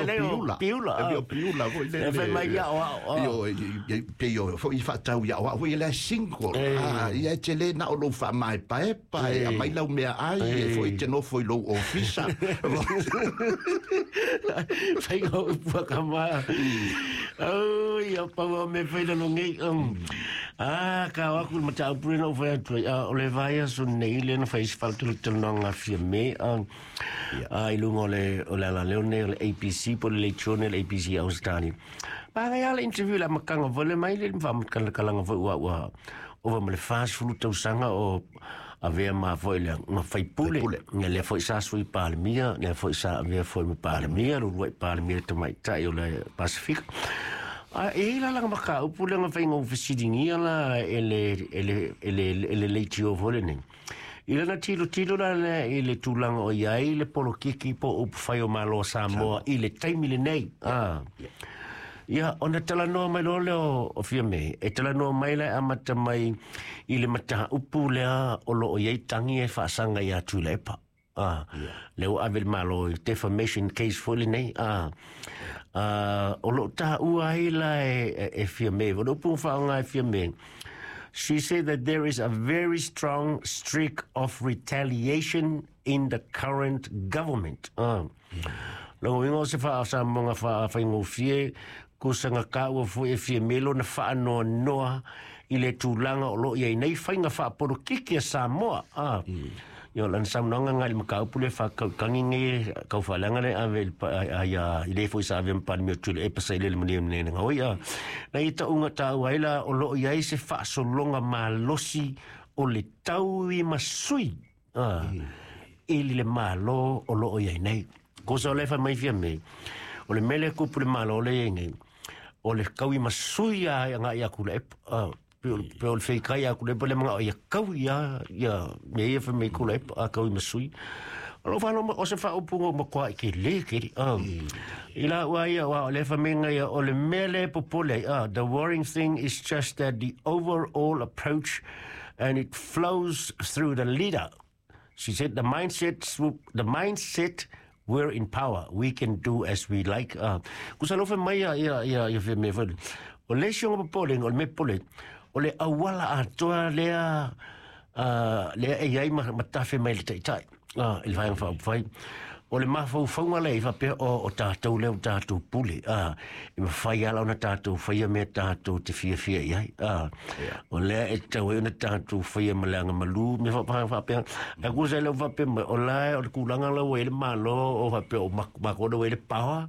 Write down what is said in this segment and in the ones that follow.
o piula. Piula. E pei o piula foi lele. E fai mai ia o ao. Ioe, pei o foi faatau ia o au foi le single. Ah, ia e te le na o lou faamaepaepa e aumai lau meaai e foi e te nofo i lou ofisa. Faiga o upu a ka ma. Oi, o pau o me fai lalo nei. Ah, ka o aku le mataupu lena ua fai atu ai. Ah, o le vaiaso nei lea na fai ai se faalatalanoaga a Fiame. Ah, ah, i luga o le, o le alaleo nei o le ABC po o le leitione o le ABC i Ausetalia. Manaia lava le interview i le amataga foi lea mai le faamatalaga foi ua ua ova ma le 40 tausaga o avea ma foi le ma faipule. Ia lea foi sa sui Palemia, lea foi sa avea foi ma Palemia, le uluai Palemia tamaitai o le Pasifika. A e i ai la lana mataupu lea na fai na ou fesiligia la e le e le e le e le leitio foi lenei. I lana tilotilo la lea i le tulaga o i ai le polokiki po o upufai o Malo o Samoa i le taimi lenei. Ah. Ia, ona talanoa mai loa lea o Fiame, e talanoa mai la e amata mai i le mataupu lea o lo o i ai tagi e faasaga ia Tuilaepa. Ah, lea ua ave le Malo i defamation case foi lenei. Ah, ah, o lo o taua ai la e Fiame, o le upu na faaaoga e Fiame, she said that there is a very strong streak of retaliation in the current government. Ah. Lona uiga o se faasamoga faafaigofie, kusaga kaua foi e Fiame lona faanoanoa i le tulaga o lo o i ai nei faiga faapolokiki a Samoa. Ah. Ia, o lana saunoaga lena i le mataupu lea faakaukagi nei kau faaleaga lea ave i le a ia i le foi sa avea ma Palemia o Tuilaepa sa i le malia nei na oi a. Na ia tauga taua ai la o lo o i ai se faasologa malosi o le taui ma sui a i le Malo o lo o i ai nei. Kosa o le fai mai Fiame, o le mea lea e kupu i le Malo lea e i ai nei, o le kaui ma sui a e agai aku le a pe o le feikai aku le le manga ia kaui a ia me ia fai mai kula a kaui ma sui. O lo whano o se whaopunga o makoa i ke le keri. I la ua ia wa o le whamenga ia o le mea le popole ai. The worrying thing is just that the overall approach and it flows through the leader. She said the mindset, the mindset we're in power, we can do as we like. Kusa lo mai ia ia ia ia fe me foi. O le isi o popolenga, o le mea popole, o le auala atoa lea lea e i ai ma tafe mai le taitai i le Vaega Faaupufai. O le mafaufauga lea i faapea o, o tatou lea o tatou pule, e mafai lava ona tatou faia mea tatou te fiafia i ai. O lea e tatau ai ona tatou faia ma le agamalu, mea faapea. Ae kusa e le o faapea mai, o la e o le tulaga la ua i ai le Malo, o faapea o matou la ua i ai le power,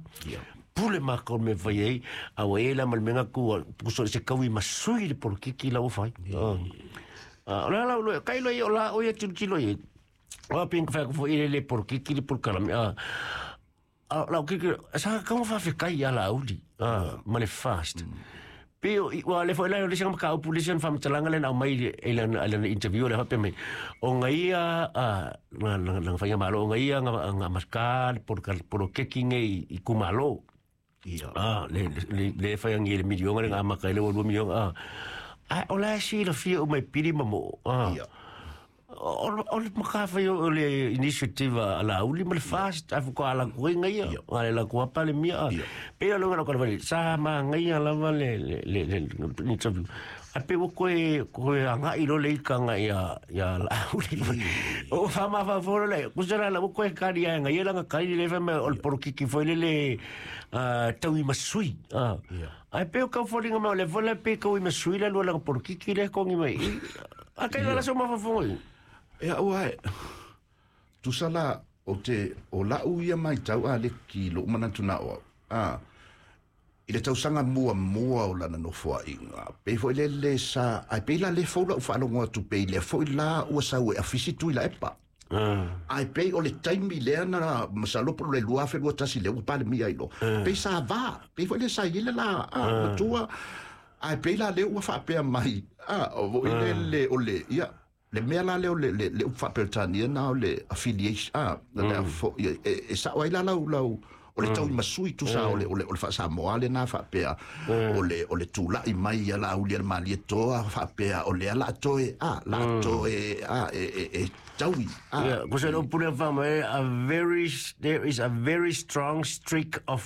pule matou i le mea e fai ai, a ua i ai la ma le mea na tu, kusa o se taui ma sui le polokiki la ua fai. O le ala o kai loa o la o ia tilotilo i ai. O pin ka whai foi le le polokiki le polokalame. A lau kiki, sa ka whawhekai ia la uli, ma le fast. Pe o, ua le foi lai o le singa maka upu le singa whamatalanga le na au mai e lana, lana interview le hape mai. O ngai ia, nga, nga, nga whainga malo, o ngai ia nga, nga maska le polokeki nge i kumalo. Ia. Le, le, le whai angi le milionga le ngā maka i le walua milionga. A, o la si la fia o mai pili ma mo. Ia. O le maka whai o le initiative a la uli ma le fast, a fuka ala kue ngai ia. Ia. A le la kua pa le mia. Ia. Pe a longa la kua sa ma ngai ia lava le, le, le, le, le interview. A pe o koe, koe a ngai lo le ika ngai ia, ia la uli. O wha ma wha foro le, kusa la la o koe kari a ngai ia langa kari le wha me o le porokiki foi le le, tau i masui. Ia. Ai pe o kau fōringa mai o le fola pe kau i masui la lua langa porokiki le kongi mai. A kai la so ma wha i. E au ai, tusa la o te, o lau ia mai tau a le ki lo manatu na o au. I le tausaga muamua o lana nofoaiga, pei foi le le sa, ai pei la le fou lau faalogo atu pei lea foi la ua sau e afisi Tuilaepa. Ai pei o le taimi lea na masalo po o le 2021 lea ua Palemia ai loa. Pei sa va, pei foi le sa i ai le la matua. Ai pei la lea ua faapea mai, o foi le le o le, ia, le mea la lea o le le le upu faa-Peretania na o le affiliation, le fo, ia, e sao ai la lau lau o le tau i masui tusa o le o le o le faa-Samoa lena faapea o le o le tula'i mai ia Laauli a le Malietoa faapea o lea la toe a la toe a e e e taui a Ia, ko se upu lea wha mai, a very, there is a very strong streak of